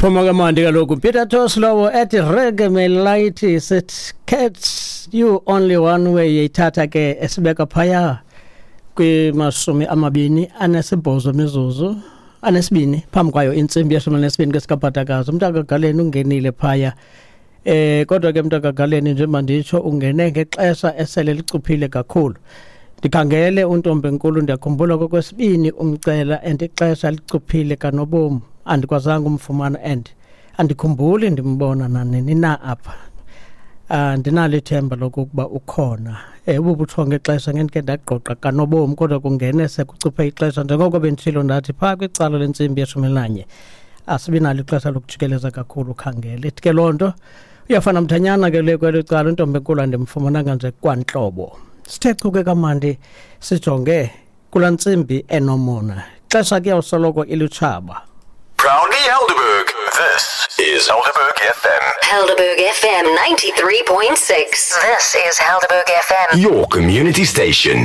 Phuma kamandi kaloku Peter Tosh lowo ethi reggae melight sit catch you only one way yithatha ke esibeka phaya kwimasumi 28 mizuzu anesibini phambi kwayo intsimbi yeshumi elinesibini kwesikabhatakazi. Umntakagaleni ungenile phaya, kodwa ke mntakagaleni, njengoba nditsho, ungene ngexesha esele licuphile kakhulu. Ndikhangele untombi enkulu, ndiyakhumbula kokwesibini umcela and ixesha licuphile kanobomi, andikwazanga umfumana and andikhumbuli ndimbona nanini na apha. Andinalo ithemba lokokuba ukhona. Ububuthongo ixesha ngendike ndagqogqa kanobomi, kodwa kungene sekucuphe ixesha njengoko benditshilo ndathi phaa kwicala lentsimbi yeshumi elinanye asibi nalo ixesha lokujikeleza kakhulu ukhangele. Ithi ke loo nto uyafana mthanyana ke le kwelo cala untombi enkulu andimfumananga nje kwantlobo. Sithe chuke kamandi sijonge kulaa ntsimbi enomona, xesha kuyawusoloko ilutshaba. Proudly Helderberg. This is Helderberg FM. Helderberg FM 93.6. This is Helderberg FM. Your community station.